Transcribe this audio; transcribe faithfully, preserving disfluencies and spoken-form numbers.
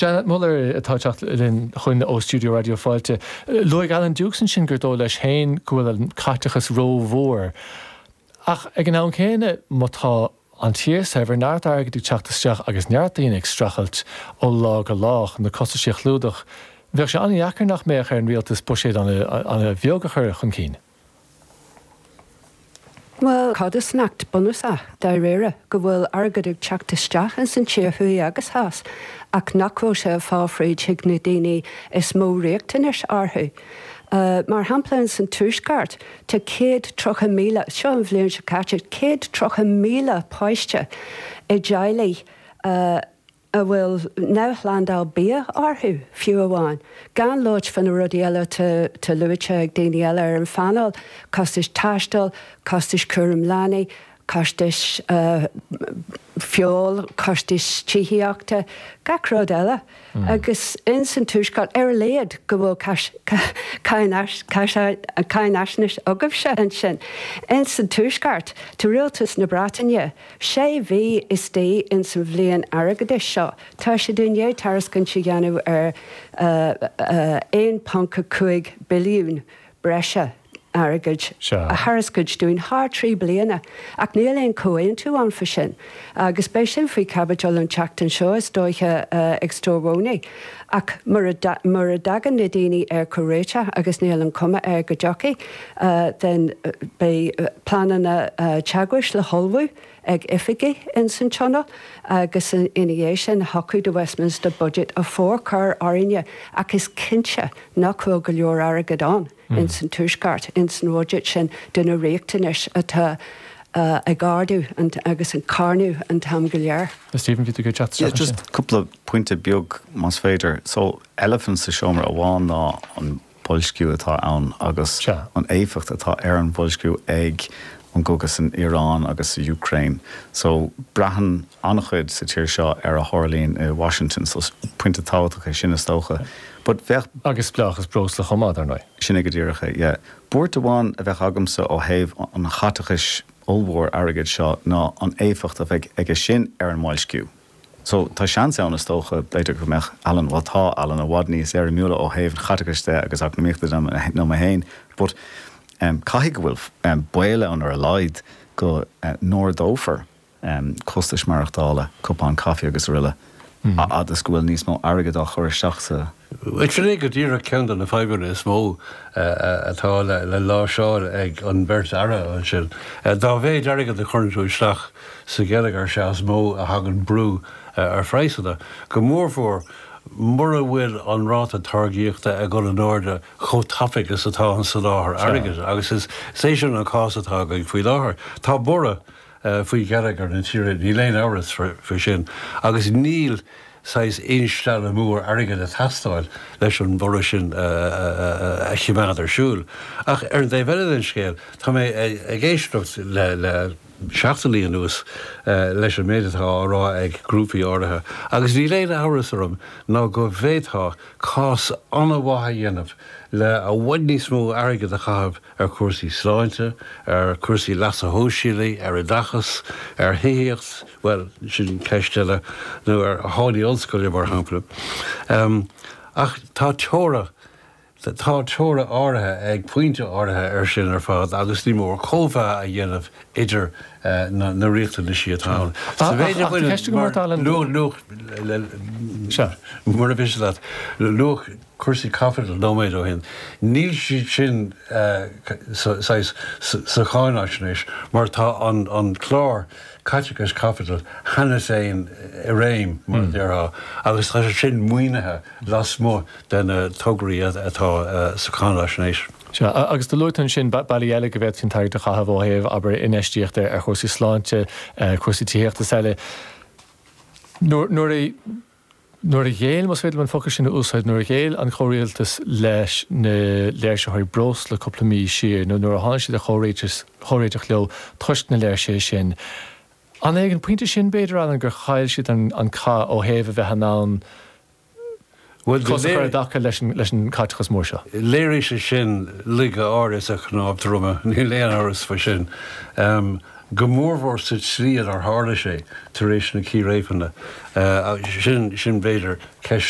Janet Muller atá ag teacht linn chugainn ó Studio Raidió Fáilte. Luaigh Alan Dukes ansin gur dóigh leis féin go bhfuil an caiteachas rómhór. Ach ag an am céanna má tá an tír saibhir neart airgid ag teacht isteach agus neart daoine ag streachailt ó lá go lá chun na costais a chlúdach, bheadh sé an-deacair nach mbeadh ar an rialtas buiséad an-bheag a chur chun cinn. Well codarsnacht bunúsach dáiríre go bhfuil airgead ag teacht isteach in san tír thuaidh agus theas, ach nach bhfuil sé ag fáil fríd chuig na daoine is mó riachtanais orthu. Uh, mar shampla in san tuaisceart tá céad tríocha míle seo an bhliain seo caite céad tríocha míle páiste i dteaghlaigh uh, a bhfuil neamhshlándáil bia orthu fiú amháin. Gan labhairt faoi na rudaí eile atá luaite ag daoine eile ar an phainéal, costais taistil, costais cúram leanaí, costais uh, feoil, costais tithíochta, gach rud eile. Mm. Agus in san tuaisceart ar a laghad go bhfuil cáinaisnéis agaibhse ansin. In san tuaisceart tá rialtas na Breataine, sé mhí istigh in san bhliain airgeadais seo, Tá sé i ndiaidh tairiscint a dhéanamh ar aon ponc a cúig billiún breise airgid a thairiscint dúinn thar trí bliana, ach níl aon chomhaontú ann faoi sin. Agus beidh sin faoi chaibidil an tseachtain seo is dóiche ag Stórmhónaí. Ach mura dtagann na daoine ar chomhréiteach agus níl an cuma air go dtiocfaidh, then beidh pleananna teagmhais le hullmhú ag oifigigh in san tionól agus ina dhiaidh sin thiocfadh do Westminster budget a forchur orainne ach is cinnte nach bhfuil go leor airgead ann in san tuaisceart in san budget sin do na riachtanais atá ag ardú agus ag carnadh an t-am go léir. Stephen bhí tú ag teacht Yeah, just cúpla pointe beag más féidir. So elephant sa seomra amháin ná an boilsciú atá ann agus an éifeacht atá ar an bhoilsciú ag an gcogadh san Iran agus sa Ukraine. So braitheann an-chuid sa tír seo ar a tharlaíonn i Washington, so pointe tábhachtach é sin is dócha. But bheadh agus spleáchas breosla chomh maith ar ndóigh. Sin é go díreach é, yeah. Buairt amháin a bheadh agamsa ó thaobh an chaiteachais ollmhór airgid seo ná an éifeacht a bheidh aige sin ar an mboilsciú. So tá seans ann is dócha b'fhéidir go mbeadh Alan well tá Alan i bhfad níos éirimiúla ó thaobh an chaiteachais de agus eacnamaíochta de ná mé féin, but um, caithfidh go bhfuil um, baol ann ar a laghad go uh, n-ardófar um, costais maireachtála, cupán caife agus araile, mm. agus go bhfuil níos mó airgead á chur isteach sa Sin é go díreach ceann de na fadhbanna is mó atá le le láimhseáil ag an bheirt aire ansin. Dá mhéid airgead a chuireann tú isteach sa gheilleagar sea is mó a thagann brú ar phraghsanna. Go mórmhór mura bhfuil an ráta táirgeachta ag dul in airde chomh tapaidh is atá an soláthar airgid agus is é sin an cás atá againn faoi láthair. Tá borradh faoi gheilleagar na tíre níl aon amhras faoi sin agus níl saghas instealladh mór airgid ag teastáil leis an bhorradh sin a choimeád ar siúl. Ach ar an dtaobh eile den scéal, tá mé ag éisteacht le le seachtainí anuas leis an méid atá á rá ag grúpaí áirithe, agus níl aon amhras orm ná go bhféadfá cás an-mhaith a dhéanamh le i bhfad níos mó airgid a chaitheamh ar chúrsaí sláinte, ar chúrsaí leasa shóisialaigh, ar oideachas, ar thithíocht, bhuel, sin ceist eile, nó ar tháillí ollscoile, mar shampla. Ach tá teora, tá teora áirithe ag pointe áirithe air sin ar fad agus ní mór cóimheá a dhéanamh idir na riachtanaisí atá ann. Sa mhéid a bhaineann luach, mura mhiste leat, luach cúrsaí caipitil nóiméad ó shin, níl siad sin saghas sa cháinaisnéis mar tá an clár caiteachais caipitil cheana féin i réim, mar a déarfá, agus tá sé sin maoinithe lasmuigh de na tograí atá sa cháinaisnéis. Sea, agus do luaigh tú ansin bealaí eile go bhféadfaí an t-airgead a chaitheamh ó thaobh, abair, infheistíocht ar chúrsaí sláinte, cúrsaí tithíochta is eile. Nuair a Nuair a ghéill, más féidir liom an focal sin a úsáid, nuair a ghéill an comhrialtas leis na léirsitheoirí breosla cúpla mí siar, nó nuair a tháinig siad ar chomhréiteach leo toisc na léirsithe sin, an é ag an bpointe sin, b'fhéidir, Alan, gur chaill siad an cath ó thaobh a bheith in ann cos a chur i dtaca leis an gcaiteachas mór seo? Léirigh sé sin laige áirithe sa chnámh droma, níl aon amhras faoi sin. Go mórmhór sa tslí ar tharla sé tar éis na círéibeanna sin sin b'fhéidir ceist